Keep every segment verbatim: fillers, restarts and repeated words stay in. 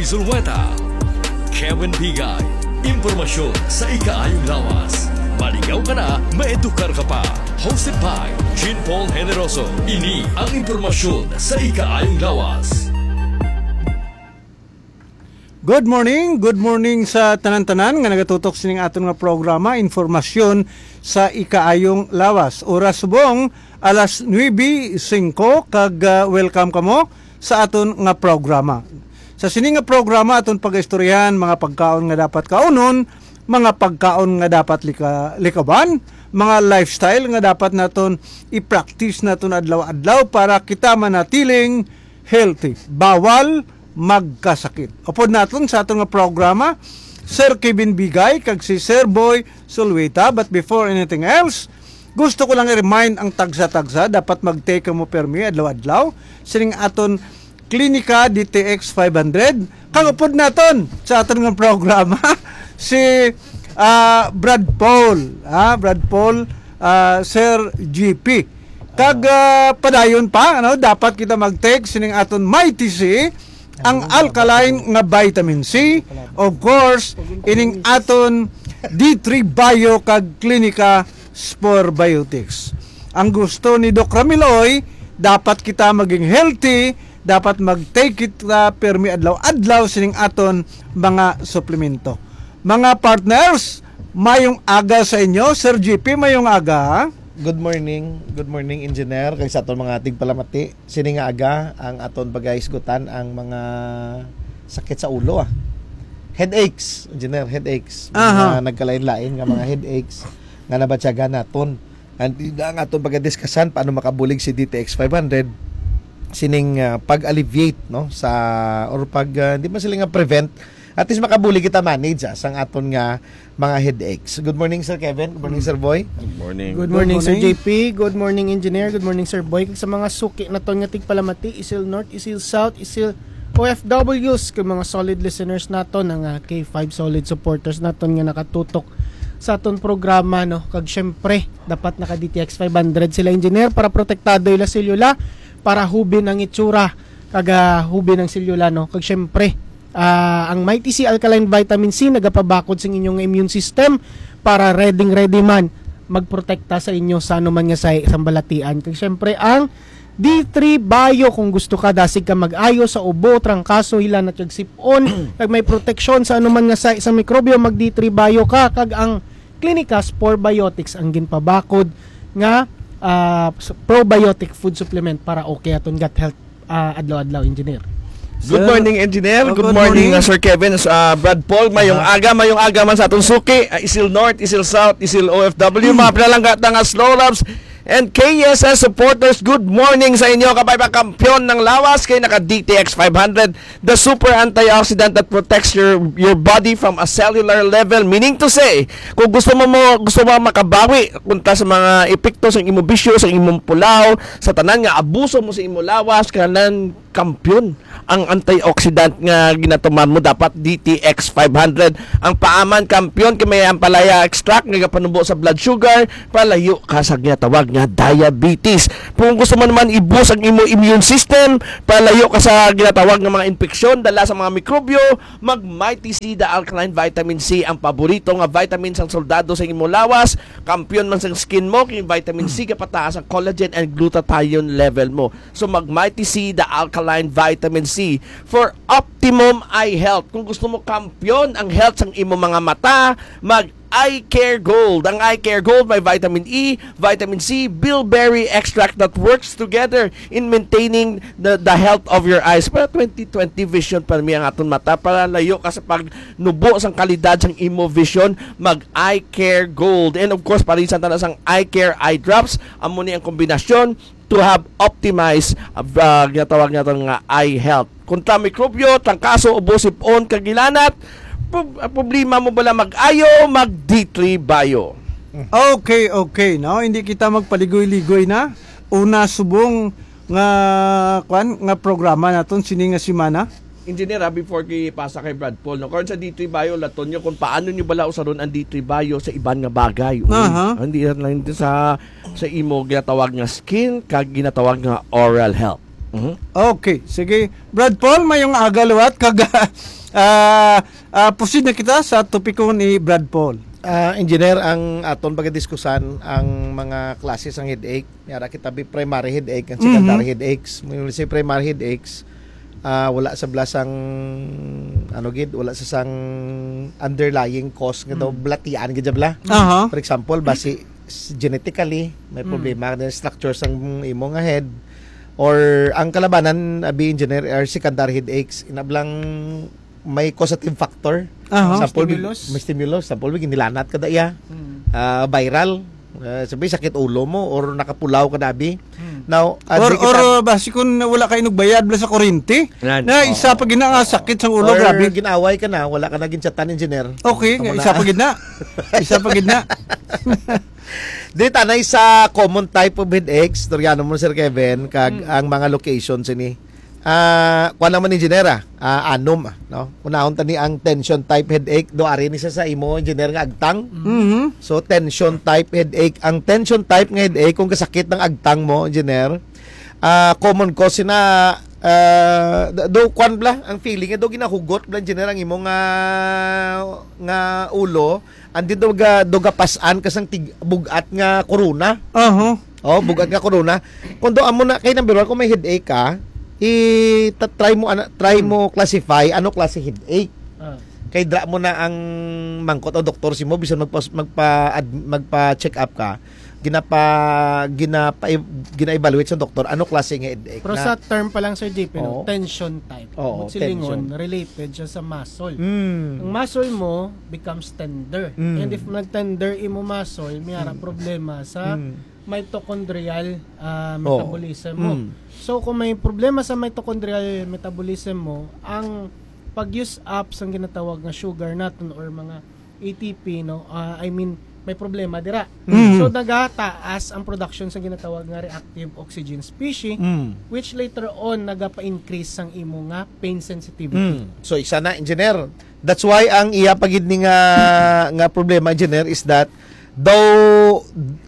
Sulweta, Kevin Bigay, impormasyon sa ikaayong lawas. Maligaw ka na, maedukar ka pa. Hosted by Jean Paul Generoso. Ini ang impormasyon sa ikaayong lawas. Good morning, good morning sa tanan-tanan nga nagatutok sining aton nga programa, Informasyon sa Ikaayong Lawas. Oras subong alas nuebe singko kag, ah, welcome kamo sa aton nga programa. Sa sini nga programa aton pagaistoryahan mga pagkaon nga dapat kaunon, mga pagkaon nga dapat lika- likaban, mga lifestyle nga dapat naton i-practice naton adlaw-adlaw para kita manatiling healthy. Bawal magkasakit. Upod naton sa aton nga programa, Sir Kevin Bigay kag si Sir Boy Sulwita. But before anything else, gusto ko lang i-remind ang tagsa-tagsa, dapat mag-take mo permi adlaw-adlaw sining aton Klinika D T X five hundred. Kag upod naton sa aton nga programa, si, ah, Brad Paul, ah, Brad Paul, ah, Sir G P. Kag, ah, padayon pa, ano, dapat kita mag-take sining aton Mighty C, ang alkaline nga vitamin C, of course, ining aton D three Bio kag Klinika Spore Biotics. Ang gusto ni Doc Ramiloy, dapat kita maging healthy, dapat mag-take kita permi adlaw-adlaw sining aton mga suplemento. Mga partners, mayong aga sa inyo. Sir G P, mayong aga. Good morning. Good morning, Engineer. Kag sa aton mga tigpalamati, sini nga aga, ang aton pagahisgutan ang mga sakit sa ulo, ah. Headaches, Engineer, headaches. Aha. Mga nagkalain-lain nga mga headaches nga nabatyagan naton. And yun ang aton pagadiskasan paano makabulig si D T X five hundred sining, ah, pag-alleviate, no, sa, or pag, ah, di man sila nga prevent, at least makabulig kita manage, ah, sang aton nga mga headaches. Good morning, Sir Kevin. Good morning, Sir Boy. Good morning. Good morning, Sir J P. Good morning, Engineer. Good morning, Sir Boy. Kag sa mga suki naton nga tigpalamati, Isil North, Isil South, Isil O F Ws, kag mga solid listeners naton, ang, ah, K five solid supporters naton nga nakatutok sa aton programa, no? Kag syempre, dapat naka D T X five hundred sila, Engineer, para protektado ila selula, para hubin ang itsura, kag, ah, hubin ang selula, no? Kag syempre, ah, ang Mighty C Alkaline Vitamin C nagapabakod sing inyong immune system para ready-ready man magprotekta sa inyo sa anuman nga sa sambalatian. Kag syempre, ang D three Bio, kung gusto ka dasig ka mag-ayo sa ubo, trangkaso, hilanat kag sip-on, kag may proteksyon sa anuman nga sa, sa mikrobyo, mag D three Bio ka, kag ang Clinicas Probiotics ang ginpabakod nga, ah, s- probiotic food supplement para okay aton gut health, ah, adlaw-adlaw, Engineer. Good Sir, morning, Engineer. oh, Good good morning, morning. uh, Sir Kevin, uh, Brad Paul. Mayong Aha. aga, mayong aga man sa atong suki, uh, Isil North, Isil South, Isil O F W, mga pinalangga ta nga Slow Labs and K S S supporters. Good morning sa inyo, kabay pa kampiyon ng lawas kay naka D T X five hundred, the super antioxidant that protects your your body from a cellular level. Meaning to say, kung gusto mo, mo gusto mo makabawi kontra sa mga epekto sa imong bisyo, sa imong pulaw, sa tanan nga abuso mo sa imong lawas, kanan kampiyon ang antioxidant nga ginatumar mo, dapat D T X five hundred. Ang paaman, kampiyon, kay may ampalaya extract nga gapanubo sa blood sugar, palayo ka sa ginatawag nga diabetes. Kung gusto mo naman i-boost ang imo immune system, palayo ka sa ginatawag nga mga infeksyon dala sa mga mikrobyo, mag Mighty C, the alkaline vitamin C, ang paborito nga vitamin sang soldado sa imo lawas. Kampiyon man sang skin mo, kay vitamin C gapataas ang collagen and glutathione level mo. So mag Mighty C, the alkaline vitamin C, for optimum eye health. Kung gusto mo kampiyon ang health sang imo mga mata, mag Eye Care Gold. Ang Eye Care Gold may vitamin E, vitamin C, bilberry extract that works together in maintaining the, the health of your eyes. Para twenty twenty vision pa mi ang aton mata, para layo ka sa pagnubo sang kalidad sang imo vision, mag Eye Care Gold. And of course, parisan ta na sang Eye Care Eye Drops. Amo ni ang kombinasyon to have optimized, uh, ginatawag naton nga eye health. Kontra mikrobyo, trangkaso, ubo, sipon, kag hilanat, prob- problema mo bala mag-ayo, mag D three Bio. Okay, okay, no? Hindi kita magpaligoy-ligoy na. Una subong nga, kwan, nga programa naton sini nga semana. Engineer, ah, before kay pasa kay Brad Paul, no? Karon sa D three Bio, laton nyo kung paano nyo bala usaron ang D three Bio sa iban nga bagay. Uy, Aha. Hindi lang sa sa imo ginatawag nga skin kag ginatawag nga oral health. Mhm. Okay, sige. Brad Paul, mayong aga liwat kag Ah, ah, proceed na kita sa topiko ni Brad Paul. Ah, engineer, ang aton pagadiskusan ang mga klase sang headache. May ara kita bi primary headache and secondary Mhm. headaches. When we say primary headaches, ah, wala sa bala sang, ano gid, wala sa sang underlying cause nga daw Mm. balatian gid bala. Aha. For example, basi s-, genetically may Mm. problema na structure sang imo nga head, or ang kalabanan, abi, engineer, are secondary headaches. Inablang may causative factor. Aha. Sample, Stimulus. May stimulus. Sample, may ginilanat ka da iya. Mm. Ah, viral. Ah, sabi, sakit ulo mo or nakapulaw ka, abi. Mm. Now, ah, Or, di kita or, uh, basi kung wala ka inugbayad bala sa kuryente, Yan. na isa Oo. pa gina nga Oo. sakit sa ulo, Or grabe. Ginaway ka na, wala ka na ginchatan, engineer. Okay, Amo na. isa pa gid na. Isa pa gid na. Di, tanay sa common type of headaches, istoryanon mo, Sir Kevin, kag Mm. ang mga locations ini. Ah, kuwan naman, engineer, ah. Ah, anom, ah, no? Unahon tani ang tension type headache. Do, ari ni sa, sa imo, engineer, nga agtang. Mhm. So, tension type headache. Ang tension type nga headache, kung kasakit ng agtang mo, engineer, ah, common cause na, ah, do, do, kwan bala, ang feeling, do, ginahugot bala, engineer, ang imo nga, nga ulo, and then do ga, do gapas-an ka sang tig-, bug-at nga korona. Aha. Oh, bug-at nga korona. Kung do amo na, kay number one, kung may headache ka, i-, ta-, try mo, ana, try Hmm. mo classify ano klase headache. Ah. Kay dra mo na ang mangkot o doktor si mo, bisan magpa, magpa, ad-, magpa-check up ka, ginapa, ginapa, gina-evaluate sa doktor ano klase nga headache Pero na. Sa term pa lang, Sir J P, no, Oo. tension type. Oo, Mut silingon, tension. Related siya sa muscle. Mm. Ang muscle mo becomes tender. Mm. And if nag-tender imo muscle, may ara Mm. problema sa Mm. mitochondrial, ah, Oh. metabolism mo. Mm. So, kung may problema sa mitochondrial metabolism mo, ang pag-use up sang ginatawag nga sugar naton or mga A T P, no? Ah, I mean, may problema dira. Mm. So, nagataas ang production sa ginatawag nga reactive oxygen species, Mm. which later on nagapa-increase sang imo nga pain sensitivity. Mm. So, isa na, engineer. That's why ang iya pa gid ni nga, nga problema, engineer, is that daw,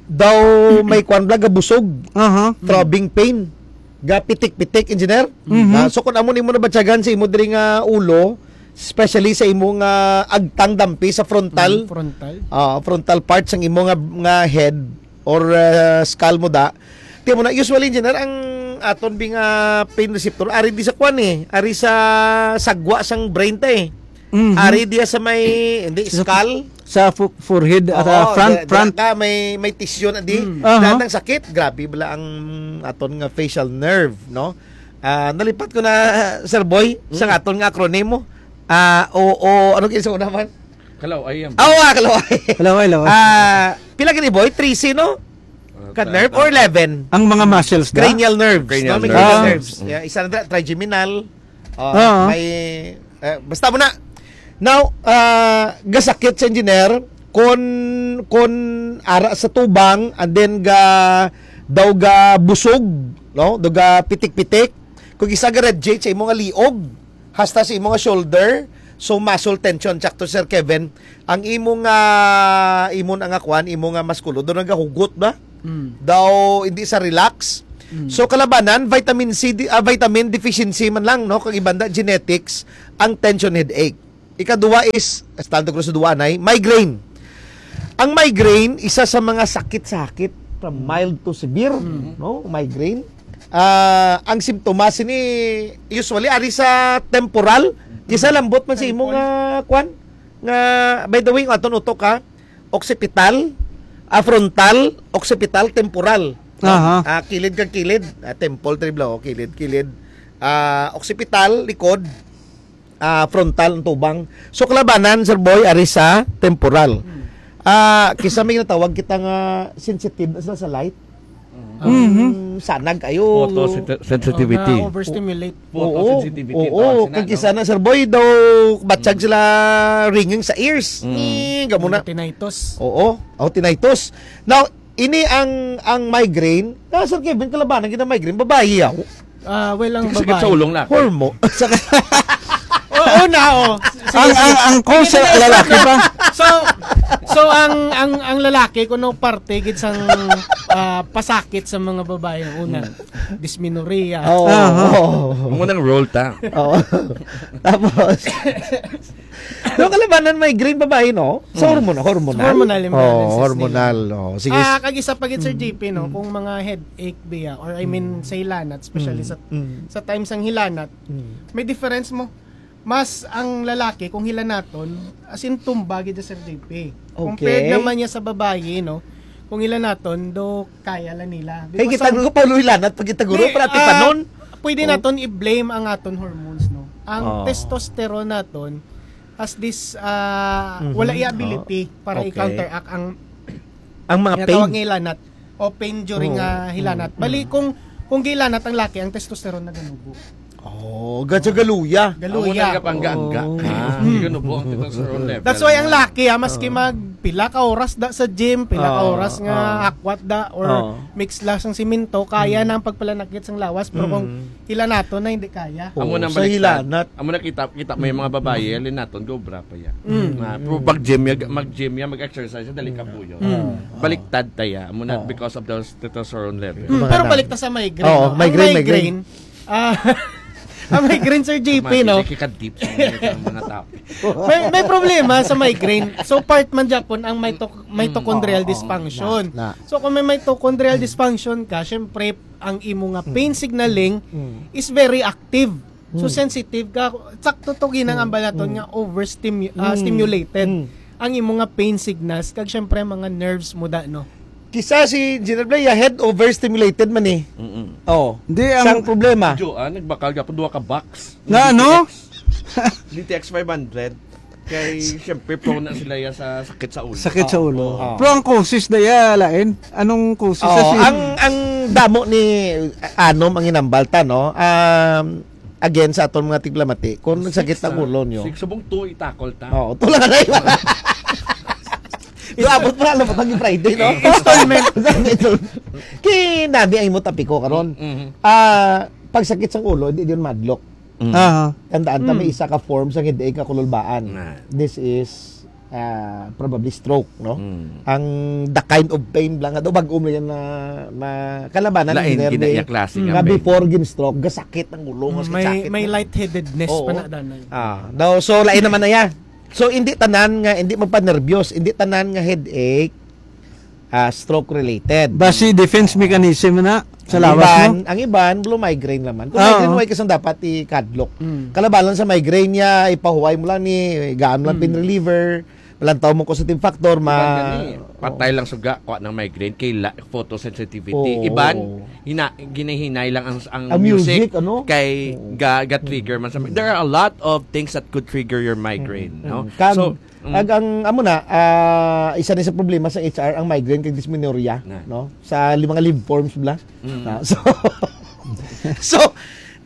daw may kwan bala, gabusog. Aha. Throbbing pain. Gapitik-pitik, engineer. Mhm. Ah, so, kung amo nimo nabatyagan sa imo diri nga ulo, especially sa imo nga agtang dampi sa frontal, Mm, frontal. Ah, frontal part sang imo nga, nga head or, ah, skull mo da. Tiyan mo na, usually, engineer, ang aton bi nga pain receptor, ari di sa kwan eh, ari sa sagwa sang brain ta eh. Mhm. Ari diya sa may, hindi, Sa, skull. Sa fo-, forehead at, Oo, ah, front, di-, di front. Ka, may, may tissue na di. Mm. Aha. Dahil ng sakit, grabe bala ang aton nga facial nerve, no? Ah, nalipat ko na, Sir Boy, sa Mm. aton nga acronym mo. Ah, o, o, ano kayo sa una man? Kalaway yan. Ah, oo, ah, kalaway. Kalaway, laway. Ah, pila gini, Boy? Trece, no? Ah, Ka ta-, nerve ta-, or eleven? Ang mga muscles na? Cranial nerves, Cranial no? May nerves. cranial Ah. nerves. Mm. Yeah, isa na dra-, trigeminal. Ah, Ah. may, eh, basta mo na. Now, ah, gasakit sa engineer, kon, kon ara sa tubang, and then ga, daw ga busog, no? Daw ga pitik-pitik. Kung isa ga radiate sa imo nga liog, hasta sa imo nga shoulder, so muscle tension, sakto, Sir Kevin, ang imo nga, imo na nga kwan, imo nga maskulo, daw nagahugot ba? Mm. Daw hindi sa relax. Mm. So, kalabanan, vitamin C, di-, ah, vitamin deficiency man lang, no? Kag iban da, genetics, ang tension headache. Ikaduha is, estando ko sa duwa, nay, migraine. Ang migraine, isa sa mga sakit sa hakit, from mild to severe, Mm. no? Migraine. Ah, ang simptomas ini, usually, ari sa temporal. Kisa lambot man sa imo nga, kwan, nga, by the way, aton utok, ha? Occipital, ah, frontal, occipital, temporal. No? Aha. Ah, kilid kag kilid, ah, temple, triblo, kilid, kilid. Ah, occipital, likod, ah, frontal, ang tubang. So, kalabanan, Sir Boy, ari sa temporal. Hmm. Ah, kisa may natawag kita nga sensitive na sila sa light. Mhm. Ang sanag kayo. Photosensitivity. Oh, na-overstimulate. Oo, Photosensitivity, oo, tawag sina, kag no? Kisa na, Sir Boy, daw batyag Mm. sila ringing sa ears. Mm. Ni, gamo na. Tinnitus. Oo, oh, tinnitus. Now, ini ang, ang migraine. Na, Sir Kevin, kalabanan gid ang migraine, babayi yaw. Ah, well, ang Sakit babae. sa ulong na. Hormo-, sa Oo na, oh. Sige, Ang, sige. ang, ang cause Sige, sa sige, lalaki sige. pa. So, So, ang, ang, ang lalaki, kuno parte gid sang, ah, pasakit sa mga babae, ang una, dysmenorrhea. Oo. Aha. Oo. Ang unang role ta. Oo. Tapos, yung kalabanan, migraine, babae, no? Sa hormon-, hormonal. Hormonal, yung Oo, balances hormonal, nila. Oh. Sige. Ah, kag isa pa gid, Sir J P, no? Kung mga headache biya, or I mean, sa hilanat, especially sa, sa times ng hilanat, may difference mo. Mas ang lalaki, kung hilanaton, as in, tumba gid, Sir J P. Compared Okay. naman niya sa babayi, no? Kung hilanaton, do kaya la nila. Kay Because kita ang guro pa, luy lanat, pag kita guro, Di, para ah, tipanon. pwede Oh. naton i-blame ang aton hormones, no? Ang Oh. testosterone naton has this, ah, Mhm. wala iya ability Oh. para Okay. i-counteract ang Ang mga ginatawag pain. nga hilanat o pain during, Oh. ah, hilanat. Mm. Bali, Mm. kung, kung gilanat ang laki, ang testosterone naganubo. Oh, gadya galuya. Galuya. Amo na nga pangga-angga. Oh. Ah, Mm. di ganubo ang testosterone level. That's why ang laki, ah, maski Oh. magpila ka oras da sa gym, pila ka Oh, oras nga oh. akwat da, or Oh. mix lang sang simento, kaya Mm. na ang pagpalanakit sang lawas. Pero kung Mm. hilanaton na, hindi kaya. Amo Oo, nang sa baliktad. Hilanat. Amo na kita, kita may mga babayi, Mm. hilanaton, gobra pa ya. Mm. Na, pero Mm. pag gym ya, mag-gym ya, mag-exercise ya, dali ka Mm. buyo. Mm. Baliktad ta ya. Amo na Oo. because of the testosterone level. Mm, Mga pero ano? balik ta sa migraine, Oo, no? Ang migraine, migraine, migraine. ah, ang migraine, Sir J P, Mati, no? Di ka deep sa mga, sa mga topic. May, may problema sa migraine. So, part man gyapon ang mito-, Mm, mitochondrial oo, oo. dysfunction. Na, na. So, kung may mitochondrial Mm. dysfunction ka, syempre, ang imo nga Mm. pain signaling Mm. is very active. So, Mm. sensitive ka. Sakto to, ginang Mm. ambal naton Mm. nga overstimu-, ah, Mm. stimulated Mm. ang imo nga pain signals, kag syempre, mga nerves mo da, no? Kisa si Engineer Blay, ya head overstimulated man eh. Mm-mm. Oh, Hindi, ang isang problema. Joan, nagbakal ka po, duha ka box. Nga, ano? D T X. D T X five hundred. Kay, syempre, prone na sila ya sa sakit sa ulo. Sakit sa Oo, ulo. oo. Pero ang causes na ya, lain? Anong causes sa Oo, si- ang, ang damo ni, ano, manginambalta, no? Um, again, sa aton mga tiglamati, kung Six, nagsakit ang ah. ulo nyo. Six, subong two, itakol ta. Oo, two lang na yun. Doon, abot pa, alam mo, pag Friday, no? Installment. Kinami ang imo topiko karon. Mhm. Ah, pagsakit sa ulo, di yun madlock. Mm. Aha. Tandaan ta, may Mm. isa ka form sa headache nga kululbaan. Na. This is, ah, probably stroke, no? Mm. Ang the kind of pain lang, ato, bag-o mo yan na, na kalabanan, Lain, Engineer gina-, Ray, iya klase nga nga pain. before gin-stroke, gasakit ang ulo, Mm, gasakit, may, sakit may na. lightheadedness Oo. pa na, danay. Ah, no, so, lain naman na yan. So, hindi tanan nga, hindi magpanerbiyos, hindi tanan nga headache, ah, stroke related. Basi defense mechanism na sa Ang lawas iban, mo? ang iban, blue migraine naman. Kung Oo. migraine, way kasang dapat i-kadlok. Mm. Kalabalan sa migraine niya, ipahuway mo lang ni, gaan mo lang Mm. pain reliever, malantaw mo causative factor, ma-, Iban gani, patay Oo. lang suga, kuha ng migraine, kay la-, photosensitivity. Oo. Iban, hina-, ginahinay lang ang, ang Ang music, music, ano? kay Oo. ga-, ga-trigger man sa, there are a lot of things that could trigger your migraine, Mm. no? Mm. Kag, So, Mm. Ag ang, amo na, ah, isa ni sa problema sa H R ang migraine kag dysmenorrhea, Na. no? Sa li-, mga lymph forms bla. Mm. Na, so, so,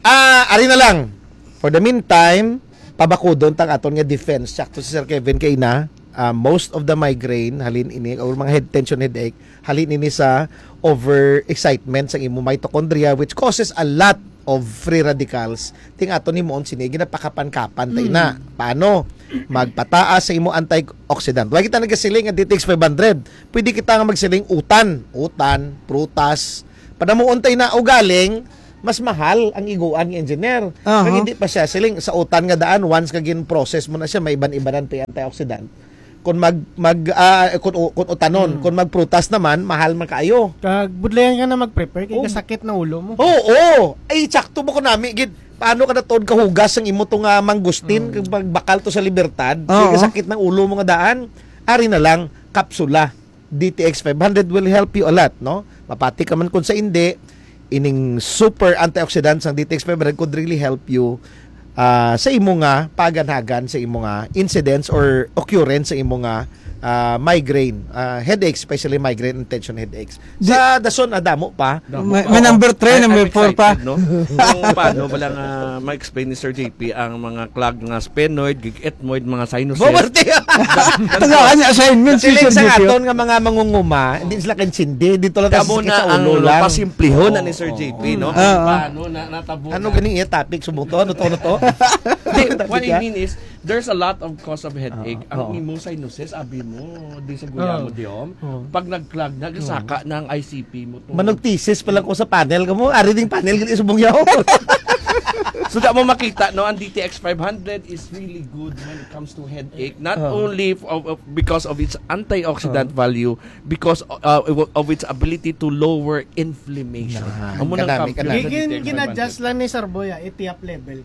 ah, ari na lang. For the meantime, pabakudon tang aton nga defense. Sakto si Sir Kevin kay na, ah, most of the migraine, halin ini, or mga head tension headache, halin ini sa overexcitement sa imo mitochondria, which causes a lot of free radicals. Ting aton himuon sini, ginapakapan-kapan tayo Mm. na. Paano? Magpataas sa imo antioxidant. Wala kita nagasiling nga D T X five hundred. Pwede kita nga magsiling utan. Utan, prutas. Padamuon tayo na ugaling, mas mahal ang iguan nga engineer. Aha. Kag hindi pa siya siling sa utan nga daan, once nga gin-process mo na siya, may iban-ibanan pa yung antioxidant. Kung mag, mag, ah, kung u-, kung utanon, Mm. kung magprutas naman, mahal man kaayo. Kag budlayan ka na mag-prepare, kay Oh. kasakit na ulo mo. Oo, oo. Ay, sakto mo ko nami, gid. Paano ka na tuod kahugas ang imo to nga mangustin, Mm. kag magbakal to sa Libertad, Oo. kay kasakit ng ulo mo nga daan? Ari na lang, kapsula. D T X five hundred will help you a lot, no? Mapati ka man kung sa indi, ining super antioxidant sang D T X five hundred could really help you, ah, sa imo nga paganhagan, sa imo nga incidence or occurrence sa imo nga, ah, migraine, ah, headaches, especially migraine and tension headaches. Di- Sa dason, ah, damo pa. Damo May, pa. may number three, I, I'm number four pa. excited, no? Kung paano ba lang, ah, ma-explain ni Sir J P ang mga clag nga sphenoid, gig-ethmoid, mga sinuses. Bumarte! Tagaan niya assignment si Siling Sir sa J P. aton nga mga mangunguma, hindi sila kaintindi. Dito lang Kamo sa sakit na sa ang ulo lang. pasimplihon na ni Sir Oo. J P, no? Oo. Paano na, natabo Ano na? gani iya topic? Subong to? Ano to? Ano to? Hindi, Topic what I niya? mean is, There's a lot of cause of headache. Oo, Ang oo. imo sinuses, abi mo, di sa guya mo, Oo. di om. Oo. Pag nag-clog na, gasaka na ang I C P mo. To. Manugtisis pa lang ko sa panel ka mo. Ari ding panel gali subong yaw. So, da mo makita, no, ang D T X five hundred is really good when it comes to headache. Not Oo. only f- of, of- because of its antioxidant Oo. value, because uh, of its ability to lower inflammation. Na, Amo nang kadami, kampiyon kadami. sa Gigin, D T X gin-adjust five hundred. Lang ni Sir Boy, ah, itiap level.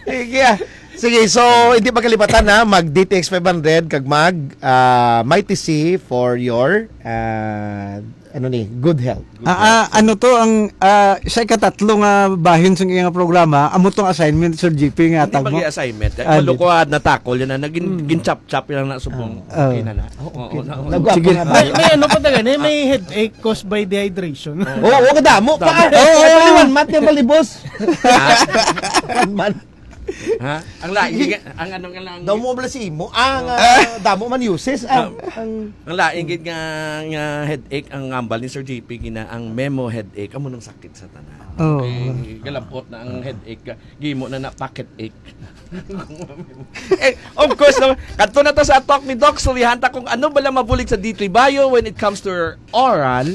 Sige, ah. Sige, so hindi pa kalipatan na mag D T X five hundred kag mag ah, Mighty C for your ah, ano ni, good health. Ah, ah, ano to ang ah, sa ikatatlo nga bahin sa iyang programa, amo tong assignment, Sir G P, nga Hindi tag mo? Mag-assignment. Ah, Malukuhan na takol yan na naging ginchap-chap yan na subong. Ah. Okay na na. Oo, na- Nagwapo Sige. nga ba? May, may ano pa taga ni, may headach caused by dehydration. Oo, oo, kadamo pa. Damo. Oo, oo. One month yung balibos. One month. Ha? Ang lain, ang ano nga lang. Damo bala si imo. Ang ah, damo man uses. Ang, ang Ang lain gid nga, nga headache ang ambal ni Sir J P gina ang memo headache amo nang sakit sa tanan. Oo. Okay, galapot na ang headache ka. Gimo na na pocket ache. Eh, of course, no, kadto na ta sa talk ni Doc. Sulihan ta kung ano bala mabulig sa D three Bio when it comes to oral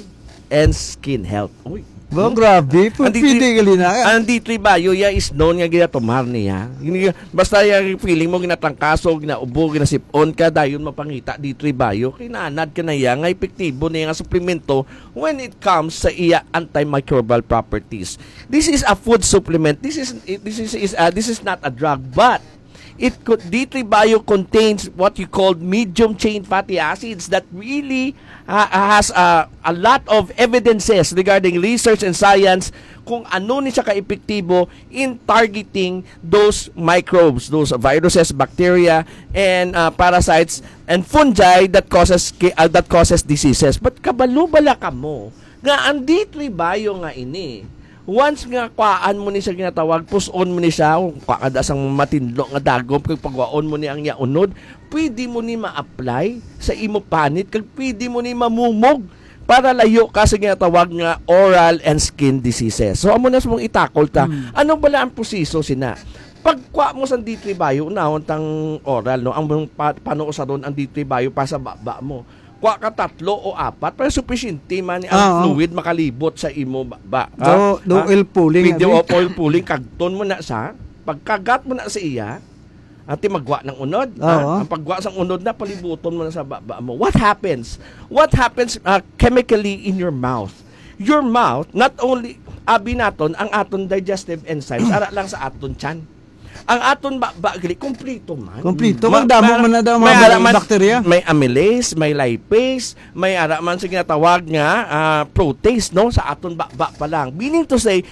and skin health. Uy. Ba, grabe. P- Ang D three Pwede gali na. Ang D three Bio ya is known nga ginatumar niya. Hindi ka- Basta yung feeling mo, ginatrangkaso, ginaubo, ginasipon ka, dayon mapangita, D three Bio. Kinanad ka na iya, nga epektibo niya nga suplemento when it comes sa iya antimicrobial properties. This is a food supplement. This is this is, is uh, this is not a drug, but it could D three Bio contains what you called medium chain fatty acids that really uh, has uh, a lot of evidences regarding research and science kung ano ni siya ka-epektibo in targeting those microbes, those viruses, bacteria, and uh, parasites and fungi that causes ki- uh, that causes diseases. But kabalo bala kamo nga ang D three Bio nga ini, once nga kuhaan mo ni siya ginatawag, puson mo ni siya, kung kuha ka da sang matinlo nga dagom, kag pagwaon mo ni ang iya unod, pwede mo ni ma-apply sa imo panit, kag pwede mo ni mamumog para layo ka sa ginatawag nga oral and skin diseases. So, amo na sa mong itakol ta. Ano bala ang proseso sina? Pagkuha mo sa D three Bio, unahon tang oral, no? Ang mong pa, panuusaron ang D three Bio para sa baba mo. Kuha ka tatlo o apat, para sufisyente man ang Ah, oo. fluid makalibot sa imo baba. Do, do Ha? oil pulling, Pwede abi? o oil pulling, kagton mo na sa, pagkagat mo na sa iya, ati magwa ng unod. Oo. Ha? Ang pagwa sa unod na, palibuton mo na sa baba mo. What happens? What happens uh, chemically in your mouth? Your mouth, not only, abi naton, ang aton digestive enzymes, ara lang sa aton tiyan. Ang aton baba, gali, kompleto man. Kompleto. Ma- Ang damo ma- man na daw may mga ara man- bakterya. May amylase, may lipase, may ara man sa ginatawag nga ah, protease, no? Sa aton baba pa lang. Meaning to say,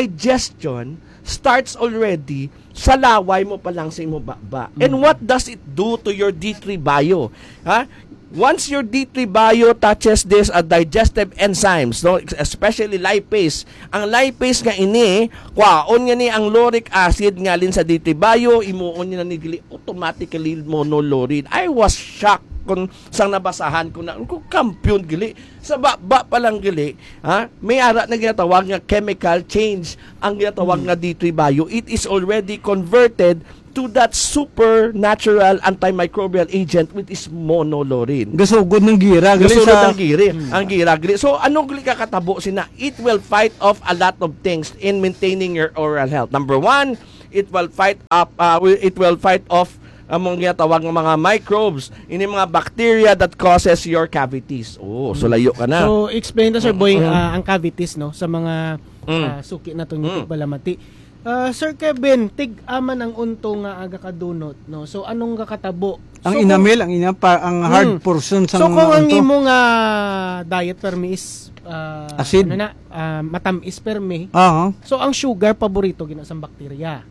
digestion starts already sa laway mo pa lang sa imo baba. And what does it do to your D three Bio? Ha? Once your D three Bio touches this uh, digestive enzymes, no, especially lipase, ang lipase nga ini, kwaon nga ni ang lauric acid nga alin sa D three Bio, imuon niya na ni gali automatically monolaurin. I was shocked kung sang nabasahan ko na, kung kampiyon gali, sa baba pa lang gali, ha, may ara na ginatawag nga chemical change ang ginatawag nga D three Bio. It is already converted to that supernatural antimicrobial agent, which is monolaurin. Gasugod ng gira. Gali Gasunod sa ang giri, ang gira giri. So, ano gali ka katabo sina? It will fight off a lot of things in maintaining your oral health. Number one, it will fight up, uh, wi- it will fight off among ginatawag ng mga microbes, ini mga bacteria that causes your cavities. Oh, so layo ka na. So, explain to, Sir Boy, Mm. ah, ang cavities, no, sa mga Mm. ah, suki naton Mm. nga tigbalamati. Ah, Sir Kevin, tig-a man ang unto nga aga kadunot, no? So, anong gakatabo? Ang So, enamel, ang ina pa, ang hard Mm. portion sa So, kung ang unto. imo nga diet permi is ah, Asid. ano na, ah, matamis permi, Oo. so ang sugar paborito gina sang bakterya.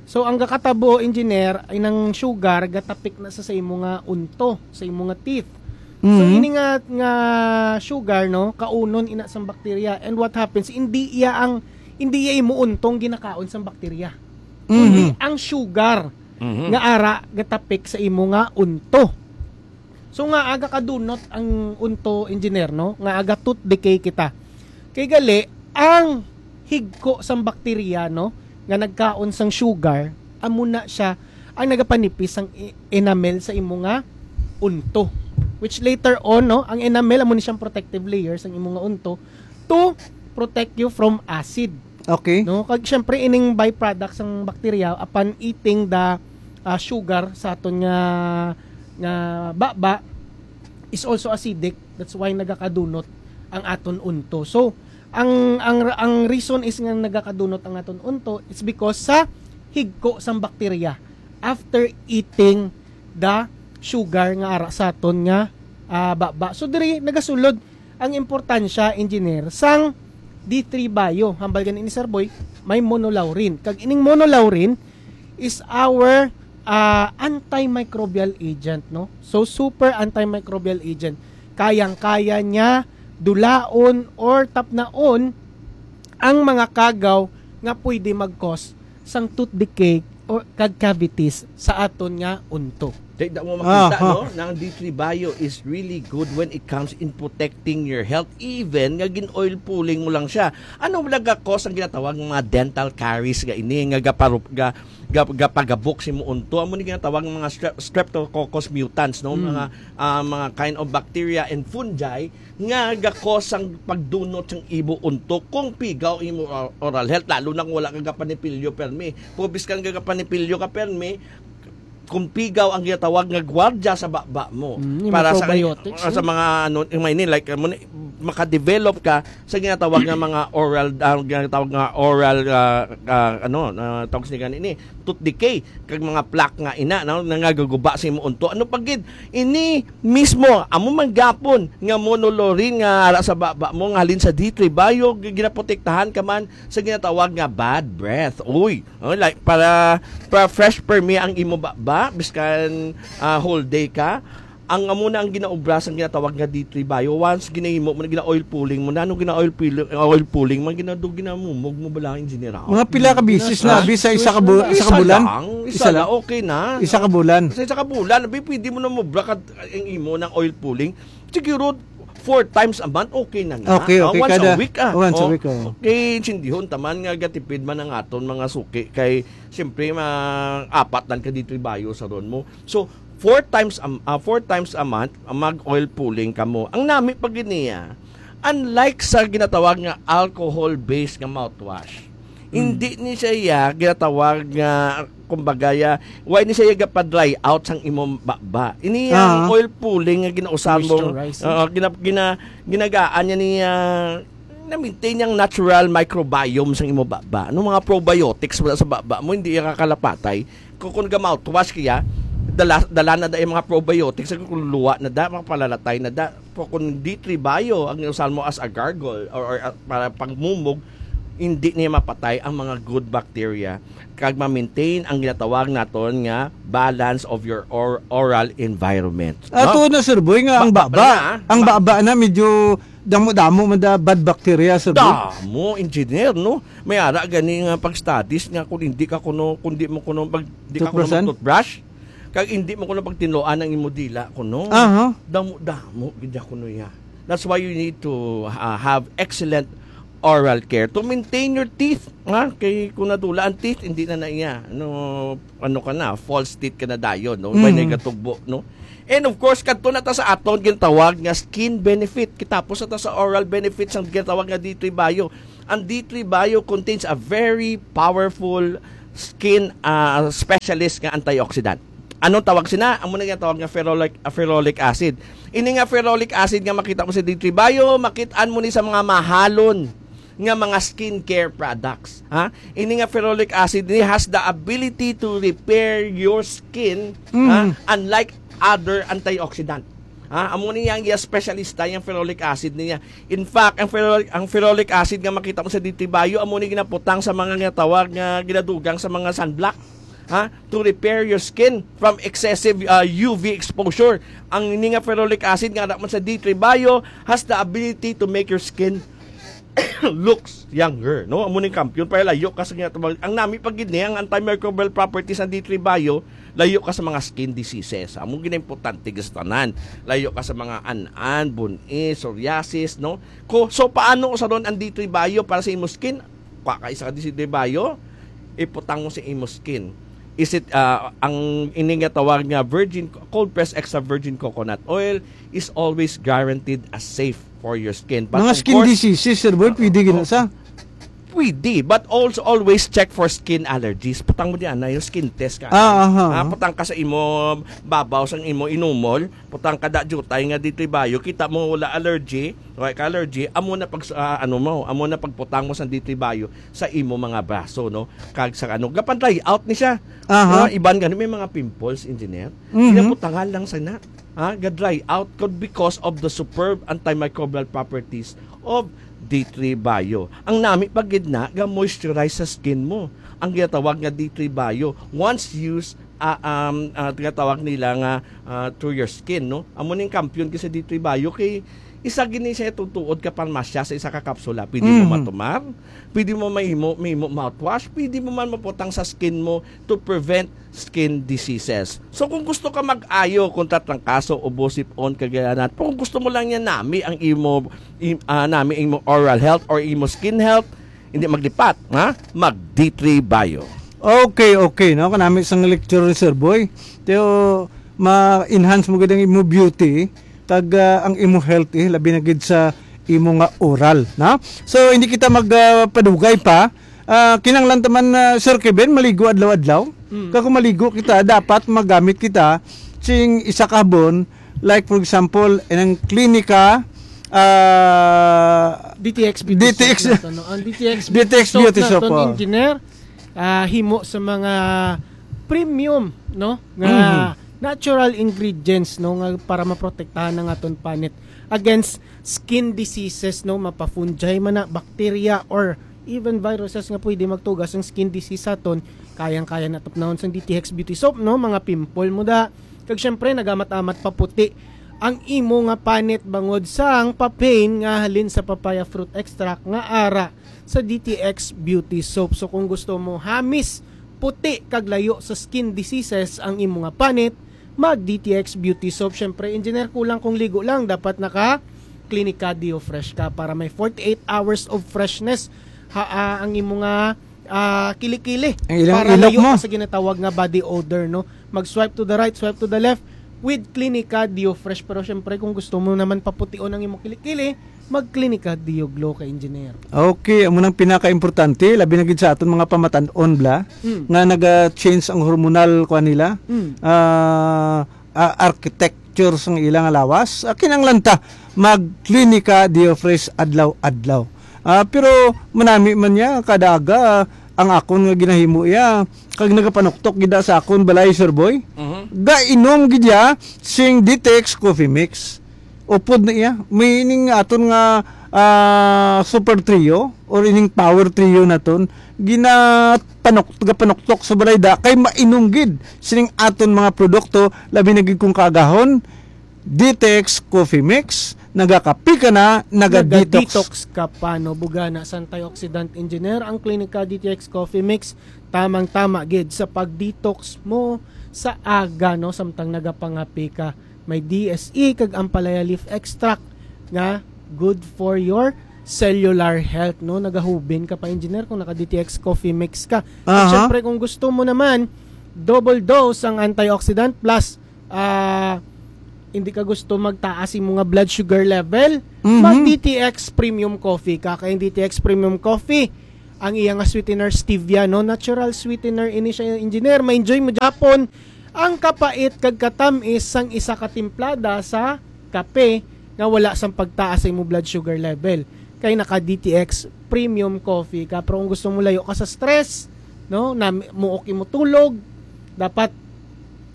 So ang gakatabo, engineer, ay nang sugar gatapik na sa, sa imo nga unto, sa imo nga teeth. So Mhm. ini nga nga sugar, no, kaunon ina sang bakterya. And what happens, hindi iya ang hindi iya imo untong ginakaon sang bakterya. Mhm. Ang sugar Mhm. nga ara gatapik sa imo nga unto. So nga aga kadunot ang unto, engineer, no? Nga aga tooth decay kita. Kay gali ang higko sang bakterya, no? nga nagkaon sang sugar, amo na siya ang nagapanipis sang e-, enamel sa imo nga unto. Which later on, no, ang enamel amo ni siyang protective layer sang imo nga unto to protect you from acid. Okay. No, kag syempre ining byproduct sang bacteria upon eating the, ah, sugar sa aton nga, nga baba is also acidic. That's why nagakadunot ang aton unto. So, ang, ang, ang reason is nga nagakadunot ang aton unto, it's because sa higko sang bacteria after eating the sugar nga ara sa aton nga, ah, baba. So, diri nagasulod ang importansya, engineer, sang D three Bio. Hambal gani ni Sir Boy, may monolaurin. Kag ining monolaurin is our, ah, antimicrobial agent, no? So, super antimicrobial agent. Kayang-kaya niya dulaon or tapnaon ang mga kagaw nga pwede mag-cause sang tooth decay o kag cavities sa aton nga unto. Di, da mo makita, Aha. no, na ang D three Bio is really good when it comes in protecting your health, even nga gin-oil pulling mo lang siya. Ano wala ga cause ang ginatawag nga mga dental caries nga ini, nga gaparup-, ga, ga, gapagabok sa imong unto? Amo ni ginatawag nga mga strep-, streptococcus mutans, no? Mm. Mga, ah, mga kind of bacteria and fungi nga gakos ang pagdunot sang imo unto kung pigaw imo or-, oral health, lalo na kung wala ka gapanipilyo permi. Kung biskan ka gapanipilyo ka permi, kung pigaw ang ginatawag nga gwardiya sa baba mo. Mm, yung para mga sa, probiotics, sa no? mga ano, yung may ni, like, amo ni, makadevelop ka sa ginatawag nga mga oral, ah, ginatawag nga oral, ah, ah, ano, ah, tawag sa gani ni, tooth decay, kag mga plaque nga ina, no, nangagaguba sa imo unto. Ano pa gid? Ini mismo, amo man gapon nga monolaurin nga ara sa baba mo, nga halin sa D three Bio, g-, ginaprotektahan ka man sa ginatawag nga bad breath. Uy, oh, like, para, para fresh permi ang imo baba, biskan, ah, whole day ka. Ang amo na ang ginaobra sang ginatawag nga D three Bio. Once ginahimo mo na, gina-oil pulling mo na, ano gina-oil pulling, oil pulling man, ginado, ginamumog mo bala ang general. Mga pila ka bisis na, Ah? abi sa isa ka bu-, Isa isa ka bulan? lang, isa Isa lang, lang? okay na. Isa ka bulan? Sa isa ka bulan, abi, pwede mo na mobra ka ang imo ng oil pulling. Siguro, four times a month, okay na na. Okay, Ah, okay, once kada, a week, ah. once a Oh, week, oh. Okay, intindihon, taman nga gatipid man ang aton mga suki. Kay, siyempre, ma-, apat lang ka D three Bio sa ron mo. So, four times a, ah, four times a month, ah, mag-oil pulling ka mo. Ang nami pa gid niya, unlike sa ginatawag nga alcohol-based nga mouthwash, Hmm. hindi ni siya iya ginatawag nga, kumbaga, ya, why ni siya iya gapa-dry out sang imong baba? Ini ang Ah. oil pulling nga ginausab mo. Moisturize, eh. Oo, gina-, gina-, ginagaan niya ni, ah, na-maintain yung natural microbiome sang imong baba. Ano mga probiotics wala sa baba mo, hindi iya kakalapatay. Kung, kung ga-mouthwash kaya, dala, dala na da yung mga probiotics, kung luwa na da, mga palalatay na da. Pero kung D three Bio ang inusahan mo as a gargle or, or, uh, para pagmumog, hindi niya mapatay ang mga good bacteria kag ma-maintain ang ginatawag naton nga balance of your or-, oral environment. Ato No? na, Sir Boy, nga ang Ba-, baba, baba na, ah. ang Ba- baba na medyo damo-damo man da bad bacteria, Sir Boy. Damo, engineer, no? May ara gani nga pag-studies nga kung hindi ka kuno, kung di mo kuno pag di ka kuno Toothbrushan? mag-toothbrush, kag hindi mo kuno pagtinloan ang imo dila kuno. Aha. Damo-damo gid ya kuno ya. That's why you need to, uh, have excellent oral care to maintain your teeth, ha? Kay kung nadula ang teeth, hindi na na iya. Ano, ano ka na, false teeth ka na dayon, no? May Mm. nagatugbo, no? And of course, kadto na ta sa aton ginatawag nga skin benefit. Kita po sa ta sa oral benefits ang ginatawag nga D three Bio. Ang D three Bio contains a very powerful skin, ah, specialist nga antioxidant. Anong tawag sina? Amo na ginatawag nga ferolic, ah, ferolic acid. Ini nga ferolic acid nga makita mo sa D three Bio, makit-an mo ni sa mga mahalon nga mga skincare products, ha? Ini nga ferolic acid ni has the ability to repair your skin, Mm. ha? Unlike other antioxidant. Ha? Amo ni yang iya specialista, yang ferolic acid niya. In fact, ang ferolic, ang ferolic acid nga makita mo sa D three Bio, amo ni ginaputang sa mga nga tawag nga ginadugang sa mga sunblock. Ha? To repair your skin from excessive, uh, U V exposure. Ang ini nga ferolic acid nga anak man sa D three Bio has the ability to make your skin looks younger, no? Amo ning kampiyon para layo ka sa ginatawag. Ang nami pa gid ni ang antimicrobial properties ng D three Bio, layo ka sa mga skin diseases. Amo gid ang importante sa tanan. Layo ka sa mga an-an, bun-i, psoriasis, no? Ko, so paano sa ron ang D three Bio para sa imo skin? Kwa ka isa ka D three Bio, iputang mo sa imo skin. Is it, ah, ang ini nga tawag nga virgin, cold pressed extra virgin coconut oil is always guaranteed as safe for your skin. But mga of skin course, diseases, Sir Boy, pwede gina sa? Pwede, but also always check for skin allergies. Putang mo diyan na yung skin test ka. Ah, aha, Ah, aha. Putang ka sa imo babaw, sang imo inumol, putang ka da jutay nga dito bayo, kita mo wala allergy, wala ka allergy, amo na pag, ah, ano mo, amo na pagputang mo sa dito bayo sa imo mga braso, no? Kag sa ano, gapan dry out ni siya. Aha. Mga iban gani may mga pimples, engineer. Mhm. Pinaputangan lang sa na. Ha, ga-dry out ko because of the superb antimicrobial properties of D three Bio. Ang nami pa gid na ga-moisturize sa skin mo. Ang ginatawag nga D three Bio, once used, ah, um, ah, ginatawag nila nga, ah, through your skin, no? Amo ning kampiyon kay sa D three Bio kay isa gini siya tutuod ka parmasya sa isa ka kapsula. Pwede mo Mhm. matumar, pwede mo mahimo, mahimo mouthwash, pwede mo man maputang sa skin mo to prevent skin diseases. So kung gusto ka mag-ayo kontra trangkaso, ubo, sipon, kagayanat, kung gusto mo lang yan nami ang imo im, ah, nami ang imo oral health or imo skin health, hindi maglipat, ha? Mag D three Bio. Okay, okay, no? Kanami sang lecture ni Sir Boy. Teo, ma-enhance mo gid ang imo beauty kag, ah, ang imo health, eh, labi na gid sa imo nga oral, na? So hindi kita mag, ah, padugay pa. Ah, kinahanglan ta man, ah, Sir Kevin, maligo adlaw-adlaw. Mm. Kag kung maligo kita, dapat magamit kita sing isa ka habon, like for example, inang Clinica, ah, D T X Beauty D T X, Soap nato, no? Ang D T X D T X Beauty Beauty Soap Soap, nato, oh. Engineer, ah, himo sa mga premium, no? Nga Mhm. natural ingredients, no, nga para maprotektahan ang aton panit against skin diseases, no, mapa-fungi man na, bacteria, or even viruses nga pwede magtugas ang skin disease sa aton. Kayang-kaya na tapnahon sang D T X Beauty Soap, no, mga pimple mo da. Kag syempre, nagamat-amat paputi ang imo nga panit bangod sang papain nga halin sa papaya fruit extract nga ara sa D T X Beauty Soap. So kung gusto mo hamis, puti kag layo sa skin diseases ang imo nga panit, mag D T X Beauty Soap. Syempre, engineer, kulang kung ligo lang, dapat naka Clinica Deo Fresh ka para may forty-eight hours of freshness ha, ah, ang imo nga, ah, kilikili. Ang ilang Para ilok layo mo. Ka sa ginatawag nga body odor, no? Mag-swipe to the right, swipe to the left with Clinica Deo Fresh. Pero syempre, kung gusto mo naman papution ang imong kilikili, mag-Clinica Deo Glow ka, engineer. Okay, amo nang pinaka-importante, labi na gid sa aton mga pamatan-on bla, Mm. nga naga-change ang hormonal kuan nila, Mm. ah, ah, architecture sang ilang lawas. Ah, kinahanglan ta mag-Clinica Deo Fresh adlaw-adlaw. Ah, pero manami man niya, kada aga, ang akon nga ginahimo iya, kag nagapanuktok gid sa akon balay, Sir Boy. Mhm. Gainom gid iya sing D T X Coffee Mix. Upod na iya. May ining aton nga, ah, super trio or ining power trio naton, ginapanok-, gapanuktok sa balay da kay mainom gid sining aton mga produkto, labi na gid kung kaagahon, D T X Coffee Mix, nagakapi ka na, naga-detox. Naga-detox ka pa, no? Bugana sa antioxidant, engineer, ang Klinika D T X Coffee Mix, tamang-tama gid sa pag-detox mo sa aga, no? Samtang nagapangapi ka. May D S E kag ampalaya leaf extract nga good for your cellular health, no? Nagahubin ka pa, engineer, kung naka-D T X Coffee Mix ka. At Aha. syempre, kung gusto mo naman, double dose ang antioxidant plus, ah, hindi ka gusto magtaas yung mga blood sugar level, Mhm. mag-D T X Premium Coffee ka. Kaya yung D T X Premium Coffee, ang iya nga sweetener stevia, no? Natural sweetener ini siya, engineer. Ma-enjoy mo gyapon ang kapait kag katamis sang isa ka timplada sa kape nga wala sang pagtaas sa imo blood sugar level. Kay naka D T X Premium Coffee ka. Pero kung gusto mo layo ka sa stress, no, na muok imo tulog, dapat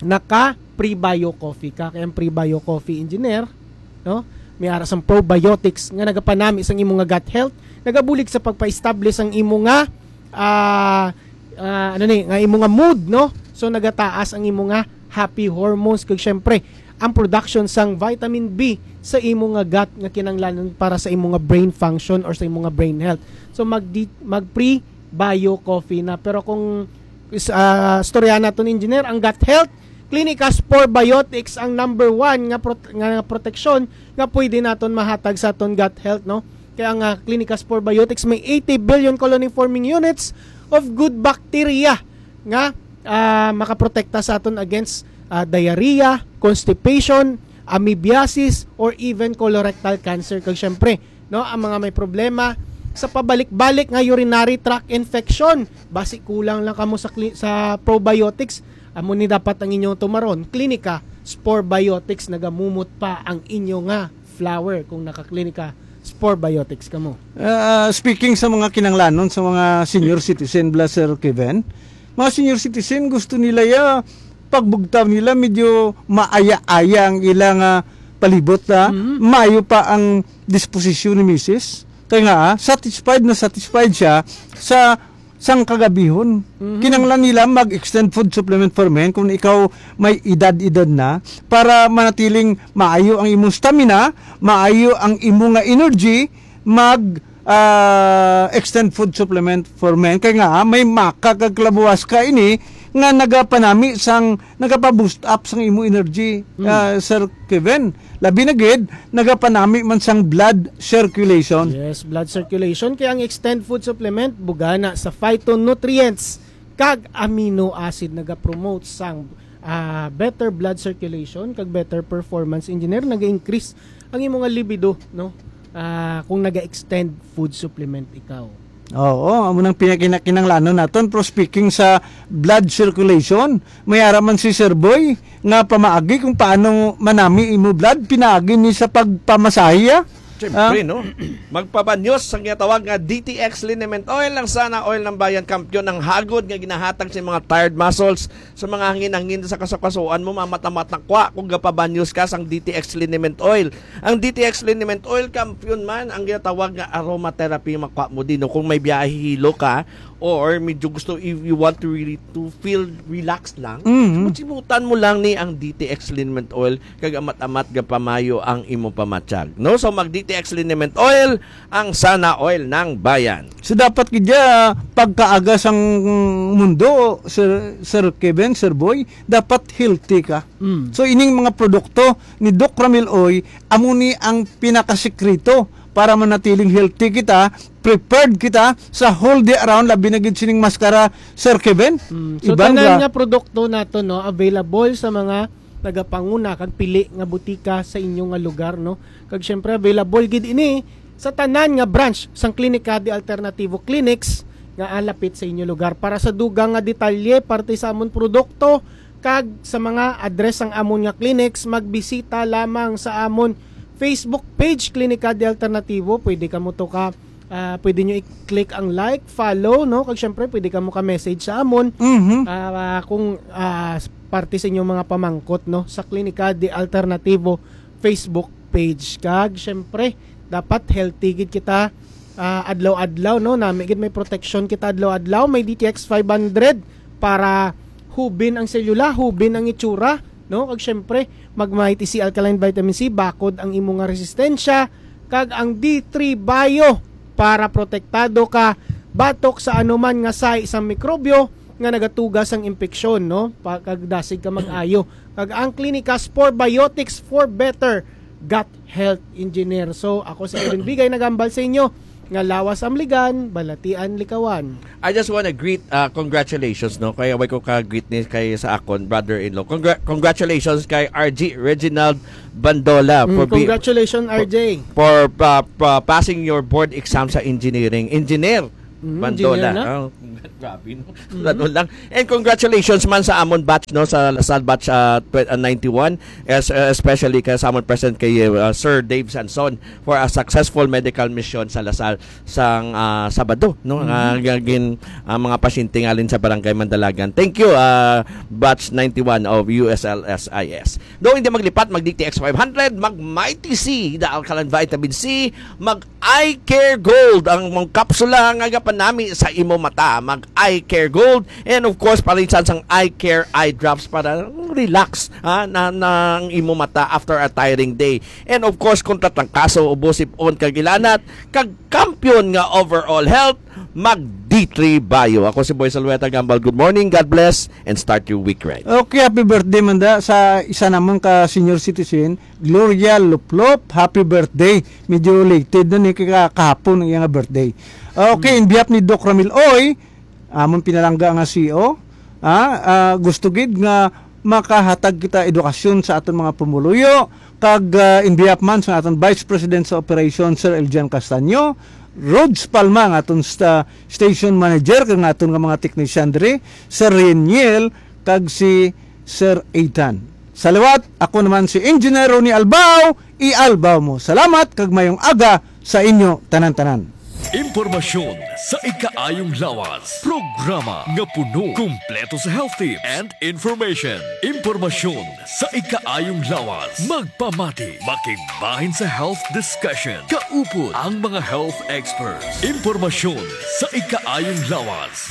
naka Prebio Coffee ka. Kay ang Prebio Coffee, engineer, no, may ara sang probiotics nga nagapanami sang imo nga gut health, nagabulig sa pagpa-establish ang imo nga, ah, ah, ano ni, nga imo nga mood, no? So nagataas ang imo nga happy hormones, kag syempre ang production sang vitamin B sa imo nga gut nga kinahanglanon para sa imo nga brain function or sa imo nga brain health. So mag mag Prebio Coffee na. Pero kung is, ah, istorya naton, engineer, ang gut health, Clinicas Probiotics ang number one nga prot-, nga proteksyon nga pwede naton mahatag sa aton gut health, no? Kaya ang, ah, Clinicas Probiotics may eighty billion colony forming units of good bacteria nga, ah, makaprotekta sa aton against, ah, diarrhea, constipation, amoebiasis, or even colorectal cancer. Kag syempre, no, ang mga may problema sa pabalik-balik nga urinary tract infection, basi kulang lang kamo sa cli-, sa probiotics, amo ni dapat ang inyong tumaron. Klinika Spore Biotics, nagamumot pa ang inyo nga flower kung naka-Klinika Spore Biotics kamo. Ah, speaking sa mga kinanglanon sa mga senior citizen, bala, Sir Kevin, mga senior citizen, gusto nila ya, pagbugtaw nila, medyo maaya-aya ang ilang, ah, palibot, ah. Mhm. Maayo pa ang disposisyon ni misis. Kaya nga, ah, satisfied na satisfied siya sa sang kagabihon. Mhm. Kinanglan nila mag-extend food supplement for men kung ikaw may edad-edad na, para manatiling maayo ang imong stamina, maayo ang imo nga energy, mag, ah, extend food supplement for men. Kay nga, may maka kag kalabuwas ka ini nga nagapanami sang, nagapa-boost up sang imo energy, Mm. ah, Sir Kevin. Labi na gid, nagapanami man sang blood circulation. Yes, blood circulation. Kaya ang extend food supplement, bugana sa phytonutrients kag amino acid, nagapromote sang, ah, better blood circulation kag better performance, engineer, naga-increase ang imo nga libido, no? Ah, kung naga-extend food supplement ikaw. Oo, amo nang pinakinakinalangon naton. Pero speaking sa blood circulation, may ara man si Sir Boy nga pamaagi kung paano manami imo blood, pinaagi ni sa pagpamasahe, ah. Siyempre, Ah. no? Magpabanyos sa ginatawag nga D T X liniment oil, ang Sana Oil ng Bayan, kampiyon ang hagod nga ginahatag sa mga tired muscles, sa mga hangin-hangin sa kasukasuan mo, mamamat-amat na kwa kung gapabanyos ka sang D T X liniment oil. Ang D T X liniment oil, kampiyon man ang ginatawag nga aromatherapy, makwa mo din, no? Kung may biyahe hilo ka, or medyo gusto, if you want to really to feel relaxed lang, Mhm. magsimutan mo lang ni ang D T X liniment oil, kag amat-amat gapamayo ang imo pamatyag. No? So, mag D T X liniment oil, ang Sana Oil ng Bayan. So, dapat gid ya, pagkaaga sang mundo, Sir, Sir Kevin, Sir Boy, dapat healthy ka. Mm. So, ining mga produkto ni Doc Ramil Oy, amo ni ang pinakasikreto para manatiling healthy kita, prepared kita sa whole day around, labi na gid sining maskara, Sir Kevin. Mm. So, Iban tanan ra. nga produkto nato, no, available sa mga nagapanguna kag pili nga butika sa inyo nga lugar, no? Kag syempre, available gid ini sa tanan nga branch sang Klinika de Alternativo Clinics nga alapit sa inyo lugar. Para sa dugang nga detalye, parte sa amon produkto, kag sa mga address sang amon nga clinics, magbisita lamang sa amon Facebook page, Klinika de Alternativo. Pwede kamo to ka, ah, pwede nyo i-click ang like, follow, no? Kag syempre, pwede kamo ka-message sa amon. Mhm. Ah, kung, ah, parte sa inyong mga pamangkot, no, sa Klinika de Alternativo Facebook page. Kag syempre, dapat healthy gid kita, ah, adlaw-adlaw, no? Nami gid may protection kita adlaw-adlaw, may D T X five hundred para hubin ang selula, hubin ang itsura, no? Kag syempre, mag Mighty C Alkaline Vitamin C, bakod ang imo nga resistensya, kag ang D three Bio para protektado ka batok sa anuman nga sahi sang mikrobyo nga nagatuga sang impeksyon, no? Pa-, kag dasig ka mag-ayo. Kag ang Klinika Spore Biotics for better gut health, engineer. So, ako si Kevin Bigay, nagambal sa inyo nga lawas amligan, balatian likawan. I just wanna greet, uh, congratulations, no? Kaya way ko ka-greet ni kay sa akon brother-in-law. Congra-, congratulations kay R G Reginald Bandola Mm, for be-, congratulations, for, R J. for, uh, uh, passing your board exam sa engineering. Engineer Mm, Bandola. engineer na. Oh, grabe, no? Mm. Ano lang. And congratulations man sa amon batch, no, sa Lasal batch, uh, tw-, uh, ninety-one, es-, uh, especially kay sa amon president kay, uh, Sir Dave Sanson for a successful medical mission sa Lasal sang, ah, Sabado, no? Mm. Nga gin-, ang mga pasyente nga alin sa Barangay Mandalagan. Thank you, ah, batch ninety-one of U S L S I S. Do hindi maglipat, mag D T X five hundred, mag Mighty C, the alkaline vitamin C, mag Eye Care Gold, ang mga kapsula nga gapanami sa imo mata, mag Eye Care Gold, and of course, palisan sang Eye Care Eye Drops para relax, ha, na, na ang imo mata after a tiring day. And of course, kung tatrangkaso, ubo, sip-on, kag ilanat, kag kampiyon nga overall health, mag D three Bio. Ako si Boy Salweta Gambal. Good morning, God bless, and start your week right. Okay, happy birthday man da sa isa namon ka senior citizen, Gloria Luplop. Happy birthday. Medyo lated na ni kay ka-, kahapon ang iyang birthday. Okay, Mm. in behalf ni Doc Ramil Oy, amon pinalangga nga C E O, ah, ah, gusto gid nga makahatag kita edukasyon sa aton mga pumuluyo, kag, ah, in behalf man sa aton Vice President sa Operation, Sir Eljan Castaño, Rods Palma, nga aton sta-, station manager, kag nga aton nga mga technician diri, Sir Reniel, kag si Sir Ethan. Sa liwat, ako naman si Engineer Ronnie Albao, i-Albao mo. Salamat kag mayong aga sa inyo tanan-tanan. Impormasyon sa ikaayong lawas. Programa nga puno, kumpleto sa health tips and information. Impormasyon sa ikaayong lawas. Magpamati, makigbahin sa health discussion. Kaupod ang mga health experts. Impormasyon sa ikaayong lawas.